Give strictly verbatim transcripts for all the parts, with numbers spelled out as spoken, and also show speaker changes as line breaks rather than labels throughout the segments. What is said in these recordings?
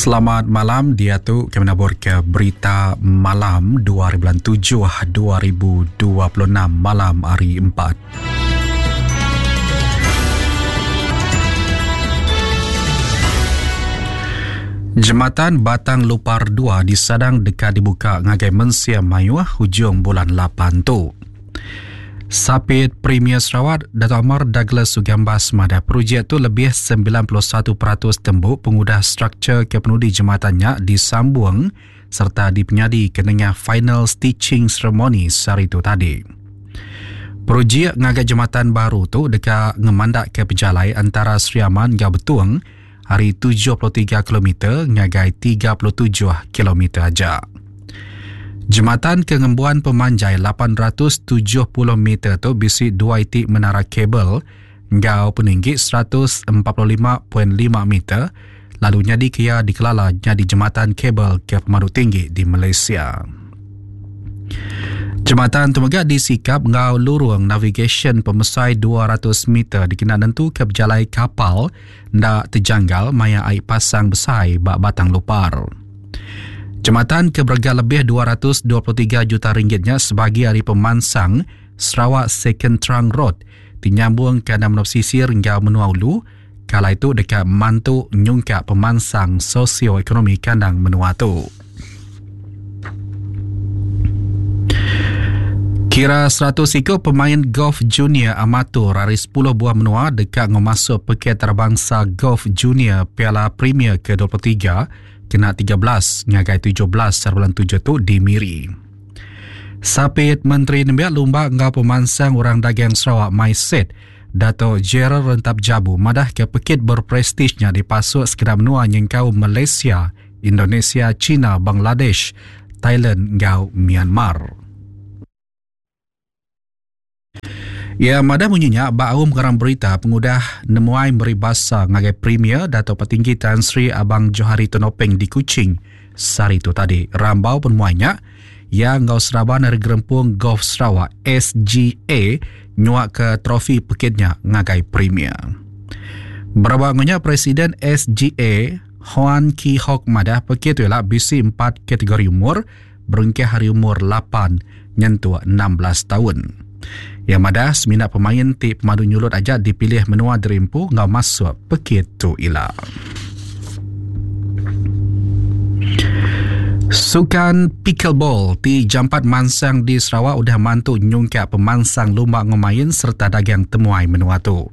Selamat malam, dia tu kami nabur ke berita malam dua hari bulan tujuh dua ribu dua puluh enam malam hari empat. Jematan Batang Lupar dua disadang dekat dibuka ngagai mensia mayuh hujung bulan lapan tu. Sapit Premier Sarawak, Dato' Amar Douglas Uggah Embas madah projek tu lebih sembilan puluh satu peratus tembuk pengudah struktur kepenudi jematannya disambung serta dipenyadi ke nengah final stitching ceremony sehari tu tadi. Projek ngagai jematan baru tu dekat ngemandak ke pejalai antara Sri Aman hingga Betung hari tujuh puluh tiga kilometer ngagai tiga puluh tujuh kilometer aja. Jematan kengembuan pemanjai lapan ratus tujuh puluh meter tu bisi dua itik menara kabel ngau peninggi seratus empat puluh lima perpuluhan lima meter lalu nyadi kia dikelala jadi jematan kabel ke pemadu tinggi di Malaysia. Jematan tu mega disikap ngau lurung navigation pemesai dua ratus meter dikena nentu ke berjalai kapal ndak terjanggal maya air pasang besar bak Batang Lupar. Jematan ke berga lebih dua ratus dua puluh tiga juta ringgitnya sebagai hari pemansang Sarawak Second Trunk Road dinyambung ke enam pesisir hingga menua ulu kala itu dekat mantu nyungkak pemansang sosioekonomi kandang menua tu. Kira seratus ikut pemain golf junior amatur hari sepuluh buah menua dekat ngemasuk peket terbangsa golf junior Piala Premier ke dua puluh tiga kena tiga belas ngagai tujuh belas bulan tujuh tu di Miri. Sapit Menteri Nembiak Lumba ngau Pemansang Orang Dagang Sarawak MySet Dato' Gerald Rentap Jabu madah ke pekit berprestijnya dipasuk sekedar menua nyengkau Malaysia, Indonesia, China, Bangladesh, Thailand ngau Myanmar. Ya, madah bunyinya baum garang berita pengudah nemuai meribasa ngagai Premier Dato' Patinggi Tan Sri Abang Johari Tun Openg di Kuching sehari tu tadi. Rambau penemuainya yang ngau seraban dari Gerempung Golf Sarawak S G A nyuak ke trofi pekitnya ngagai Premier. Berabangnya Presiden S G A Hoan Ki Hok madah pekit tu ialah B C empat kategori umur berengkeh hari umur lapan nyentuh enam belas tahun. Yang madah semina pemain ti pemadu nyulut aja dipilih menua derimpu ngau masuk pekit tu ila. Sukan pickleball ti jampat mansang di Sarawak udah mantu nyungkak pemansang lumba ngemain serta dagang temuai menua tu.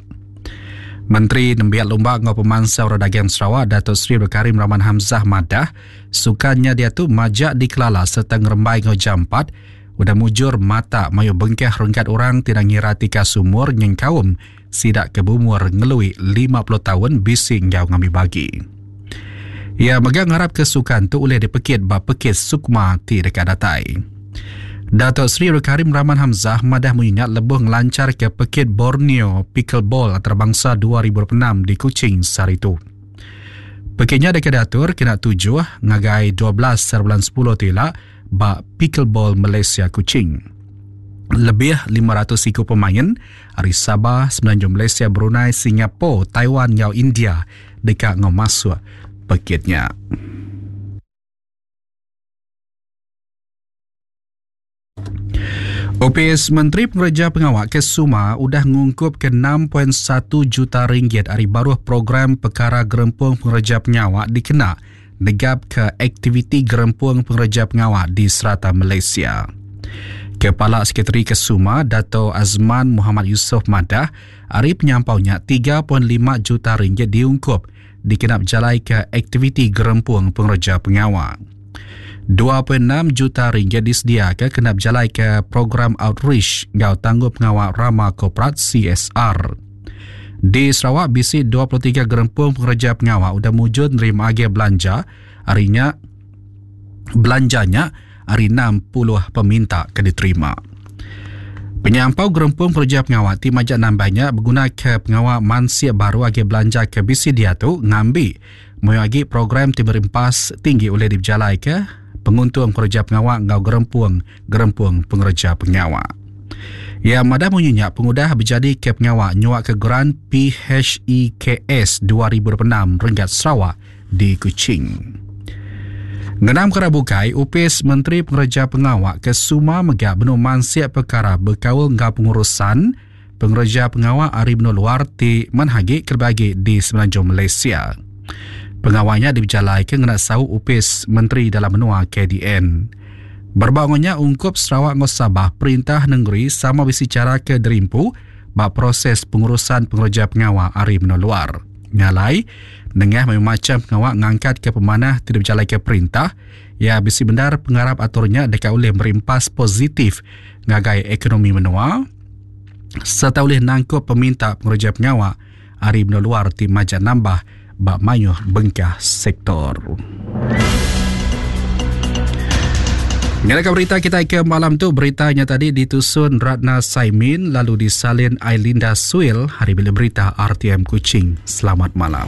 Menteri Nembiak Lumba ngau Pemansang Orang Dagang Sarawak Dato' Sri Abdul Karim Rahman Hamzah madah sukannya dia tu majak dikelala serta ngerembai ngau jampat udah mujur mata mayu bengkeh renggat orang tidak ngira tika sumur nyengkaum sidak ke bumur ngelui lima puluh tahun bising ngau ngambil bagi. Ia megang harap kesukan tu oleh dipekit ba pekit sukma ti dekat datai. Dato' Sri Abdul Karim Rahman Hamzah madah mengingat lebuh ngelancar ke pekit Borneo Pickleball antarabangsa dua ribu dua puluh enam di Kuching sehari tu. Pekitnya dekat diatur kena tujuh ngagai dua belas bulan sepuluh tila ba Pickleball Malaysia Kuching. Lebih lima ratus ikut pemain dari Sabah, Semenanjung Malaysia, Brunei, Singapura, Taiwan, ngau India dekat ngau masuk pekitnya. O P S Menteri Pengerja Pengawak Kesuma udah ngungkup ke enam perpuluhan satu juta ringgit hari baruh program Perkara Gerempung Pengerja Pengawak dikena negap ke aktiviti Gerempung Pengerja Pengawak di serata Malaysia. Kepala Sekretari Kesuma Dato' Azman Muhammad Yusof madah hari penyampaunya tiga perpuluhan lima juta ringgit diungkup dikenap jalai ke aktiviti Gerempung Pengerja Pengawak. dua perpuluhan enam juta ringgit disediakan kena berjalai ke program outreach ngau tangguh pengawal Rama Korporat C S R. Di Sarawak B C dua puluh tiga gerempung pengerja pengawal udah mujur nerima agi belanja harinya belanjanya hari enam puluh peminta ke diterima. Penyampau gerempung pengerja pengawal ti majak nambahnya berguna ke pengawal mansia baru agi belanja ke B C dia tu ngambi moyo agi program ti berimpas tinggi oleh diberjalai ke penguntung pengerja pengawal ngau gerempung-gerempung pengerja pengawal. Ya madah munyinya pengudah berjadi ke pengawal nyuak ke geran P H E K S dua ribu dua puluh enam Renggat Sarawak di Kuching. Ngenang pekara bukai, Opis Menteri Pengereja Pengawa ke Suma mega benung mansik pekara bekaul enggau pengurusan pengereja pengawa ari menua luar ti manah agi kelebih agi di Semenanjung Malaysia. Pengawa nya dipejalaika ngena saup Opis Menteri Dalam Menua K D N. Berebak enggau nya, ungkup Sarawak enggau Sabah, perintah nengeri sama bisi chara ke derimpu ba proses pengurusan pengereja pengawa ari menua luar. Nya alai, nengah mayuh macham pengawa ngangkatka pemanah ti dipejalaika perintah, iya bisi bendar pengarap atur nya deka ulih meri empas positif ngagai ekonomi menua sereta ulih nangkup peminta pengereja pengawa ari menua luar ti majak nambah ba mayuh bengkah sektor. Nyadaka berita kita ke malam tu, berita nya tadi ditusun Ratna Saimin lalu disalin Ailinda Suil hari bila berita R T M Kuching. Selamat malam.